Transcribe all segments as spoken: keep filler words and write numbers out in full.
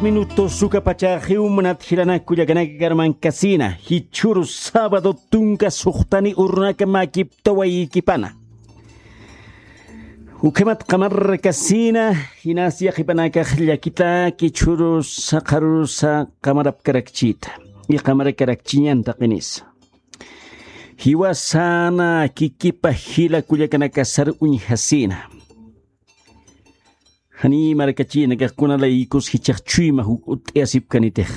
Minutos ukapachaxiw munat jilanak kullakanaka karmankasina, jichhüru sábado tunka suxtani urunaka makiptawaykipana. Ukhamat qamarkasina, jinas yaqhipanakax llakitaki jichhüru saqharusa qamarapkarakchita, y qamarkarakchiñan taqinisa. Jiwasana kikipa jila kullakanakasar uñjasina. Janiy markachinakax kuna laykus jichhax chuyma juk ut'iyasipkanitix.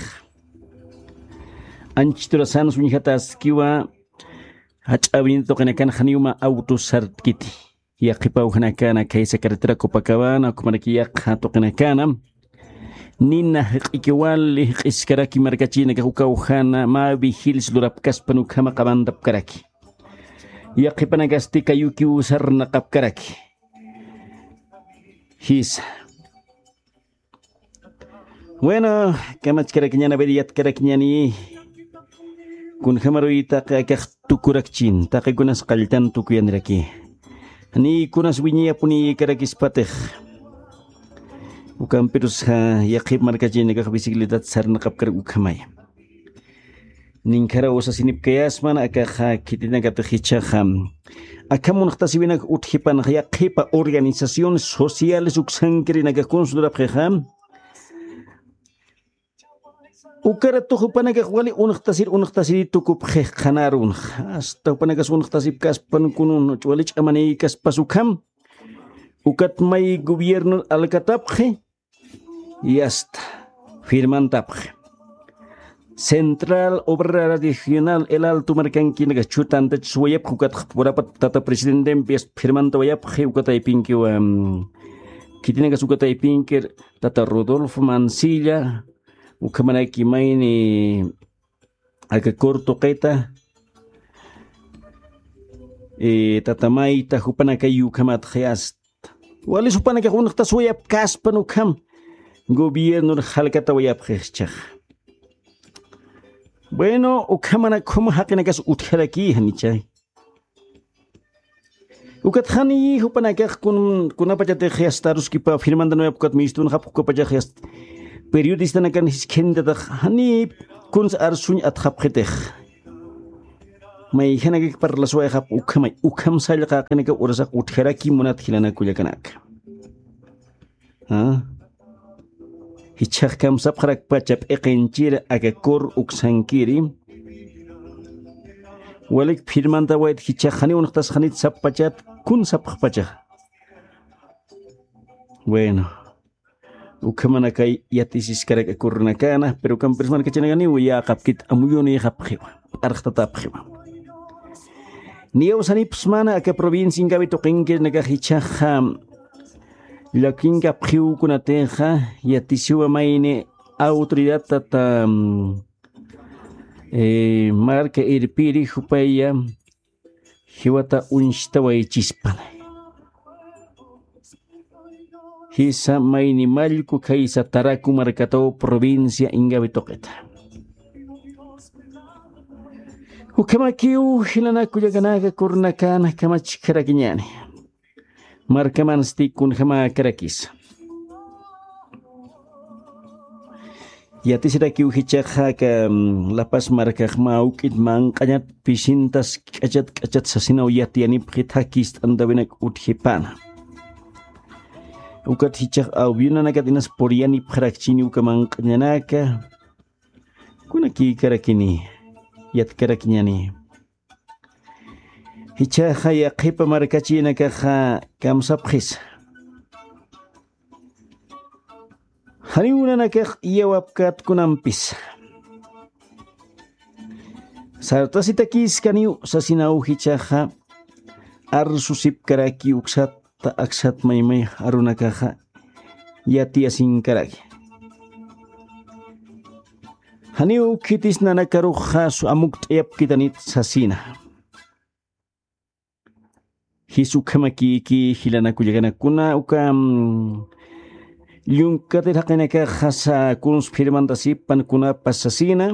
Anchiturasansa uñjataskiwa, jach'a avenida tuqinakan janiw mä autos sartkiti. Yaqhipa awjanakana khaysa carretera Copacabana, ukhamaraki yaqha tuqinakana. Nina jaq'iki wali jaq'iskaraki markachinakax uka awjana mä vigiles lurapkaspan ukhama qamantapkaraki. Yaqhipanakasti kayukiw sarnaqapkaraki. Jisa. Bueno, kamachkarakiñan, a ver, yatkarakiñani. Kunjamaruyta taqi akax tukurakchin, taqi kunas qalltan tukuyaniraki. Ni kunas wiñayapuniyikarakispatix. Ukampirus yaqhip markachinakax bicicletat sarnaqapkarak ukhamay. Ninkharaw sasinipkayasman akaxa khitinakatix jichhaxa. Akham unxtasiwinak utjipanxa yaqhipa organizaciones sociales uksankirinakax kuns lurapxixa. Ukaratux jupanakax wali unxtasir unxtasiri tukupxix qhanarunxa. Hasta jupanakas unxtasipkaspan kunun wali ch'amanïkaspas ukham. Ukat may gobierno alkatapxi. Y hasta firmantapxi. Central Obrera Regional El Alto markankinakax chhutantachus wayapxi, ukatxa purapat tata presidentempi firmantawayapxi, ukataypinkiwa. Khitinakas ukataypinkir tata Rodolfo Mansilla, ukhamaraki mayni aka Cor tuqita, eh, tata Mayta, jupanakay ukhamatxa hasta. Walis jupanakax unxtaswayapkaspan ukham gobiernor jalkatawayapxi jichhaxa. Bueno, ukhamana khum jaqinakas utjaraki janichay. Ukat jani jupanakax kun, kunapachatix yasta aruskipa firmantanuyap ukat mistunxapx ukapachax yasta periodistanakan jiskhintatax jani kuns arsuñ atxapxitix. Mayjanakak parlaswayxapx ukhamay, ukham sallqa jaqinakaw urasax utjaraki munat jilanak kullakanaka. ¿Ah? Jichhax kamsapxarakpacha p'iqinchir aka Cor uksankiri. Walik firmantawayt jichhax janiw unxtas janit sapxpachat kun sapxpacha. Bueno. Ukhamanakay yatisiskarak aka Cornakana, pero ukampirsman kachanakaniw yäqapkit amuyunïxapxiwa, p'arxtatapxiwa. Niyaw sanipsmana aka provincia Ingavi tuqinkirinakax jichhaxa llakinkapxiw kunatixa yatisiwa mayni autoridad tata, mm, eh, marka irpiri jupaya jiwata uñstawaychispan. Jisa mayni mallku khaysa Taraku markataw provincia Ingavi tuqita. Ukhamakiw jilanak kullakanaka Cornakana kamachkarakiñani. Markamansti kunjamäkarakisa. Yatisirakiw jichhaxa aka, mm, La Paz markax mä awk'it manq'añat pisintas k'achat k'achat sasinaw yatiyanipxi thakist'antawinak utjipana. Ukat jichhax avionanakat inas puriyanipxarakchini uka manq'añanaka. Kunakïkarakini, yatkarakiñani. Jichhaxa yaqhipa markachinakaxa kamsapxisa. Janiw nanakax iyawapkät kunampis. Sartasitakïskaniw sasinaw jichhaxa arsusipkaraki uksat ta aksat maymay arunakaxa yatiyasinkaraki. Janiw khitis nanakaruxa amukt'ayapkitanit sasina. Jis ukhamakïki jilanakullakanakuna uka, mm, llunk'atir jaqinakaxa kuns firmantasipan kunapas sasina.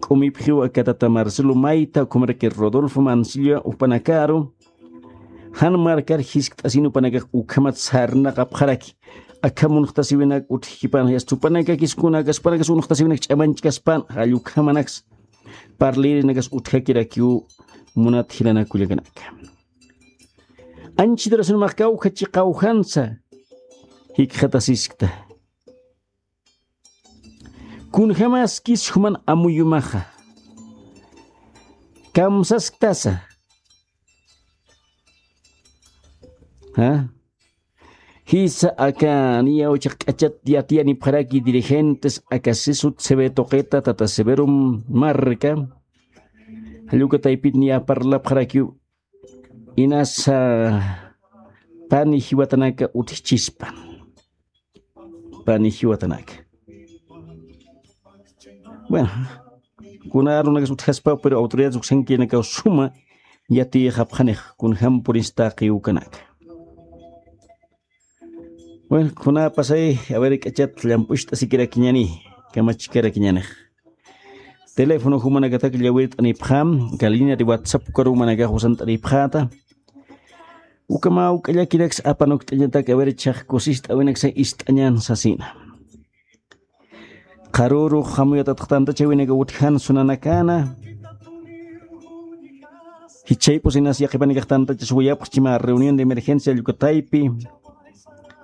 K'umipxiw aka tata Marcelo Mayta, ukhamaraki Rodolfo Mansilla jupanakaru. Jan markar jiskt'asin jupanakax ukhamat sarnaqapxaraki. Akha munxtasiwinak utjkipan, yasta jupanakakis kuna, kaspanakis unxtasiwinak ch'amanchkaspan, jall ukhamanaksa parlïrinakas utjakirakiw munat jilanakullakanaka. Anchhitarusin mä kawkha chiqawjansa jikxatasiskta. Kunjamaskis juman amuyumaxa. Kamsasktasa. ¿Ja? Jisa aka niya uchaq k'achat yatiyanipxaraki dirigentes aka sisut Severo tuqita, tata Severo Marca. Jall uka taypit niya parlapxarakiw. Inasa pani jiwatanaka utjchispan. Pani jiwatanaka. Bueno, kuna arunakas utjaspaw, pero autoridades uksankirinakaw suma yatiyxapxanix, kunjam purista taqi ukanaka. Bueno, kuna pasay, a ver, k'achat llamp'ucht'asikirakiñani, kamachkarakiñanix. Teléfono jumanakatak llawirt'anipxam, aka línea de WhatsApp ukarumanakax usant'aripxäta. Ukhamaw k'allakinaksa apanukt'añatak, a ver, chhax kusist'awinaksa ist'añan sasina. Qharürux jamuyatatx tantachawinakaw utjan sunanakana. Jichhayp'us inas yaqhipanakax tantachaswayapxchi mä reunión de emergencia jall uka taypi.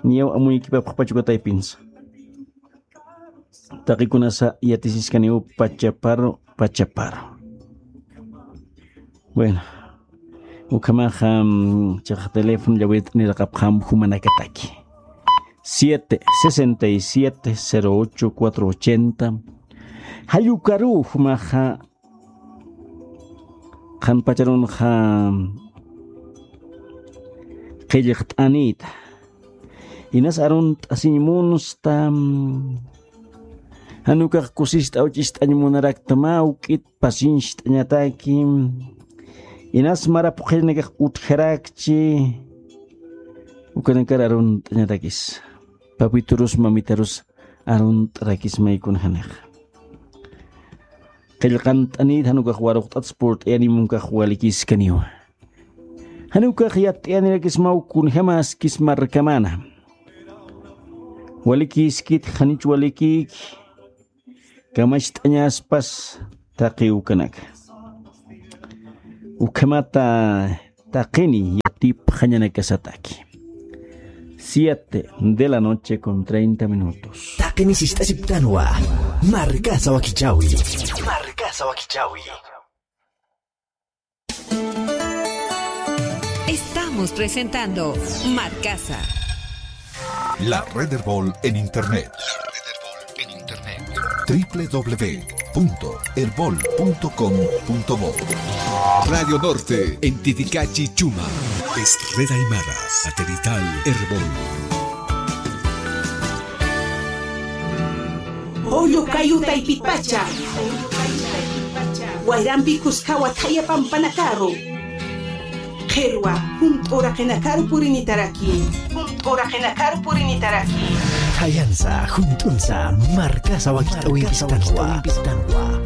Niyaw amuykipapxpach uka taypinsa. Taqikunasa yatisiskaniw pachaparu, pachaparu. Bueno, ukhamaxa, mm, chhax teléfono llawirt'aniraqapxam jumanakataki. Siete sesenta y siete, cero ocho, cuatro ochenta. Jall ukaruw jumaxa qhanpacharunxa qillqt'anïta. Inas arunt'asiñ munsta. Jan ukax kusist'aw ch'ist'añ munarakta mä juk'it pasincht'añataki. Inas mara phuqhirinakax utjarakchi. Ukanakar arunt'añatakis. Papiturus mamitarus arunt'arakis maykunjanixa. Qillqant'anït jan ukax waruqt'ats purt'ayani munkax walikïskaniwa. Jan ukax yatt'ayanirakismaw kunjamäskis markamana. Walikïskit, janich walikïki, kamacht'añaspas taqi ukanaka. Ukhamata taqini yatipxañanakasataki. Siete de la noche con treinta minutos. Taqini sist'asiptanwa. Markasa wakichawi. Markasa wakichawi. Estamos presentando Markasa. La Red Erbol en Internet. La Red Erbol en Internet. W W W punto erbol punto com punto bo. Radio Norte, en Titicachi, Chumá. Es Red Aymara, satelital Erbol. Julio Cayu Taypitpacha. Wayrampi kuskawa thaya pampanakaru. Qhirwa, junt'uraqinakaru purinitaraki. Junt'uraqinakaru purinitaraki. Thayansa, junt'unsa, markasa wakit'awimpistanwa.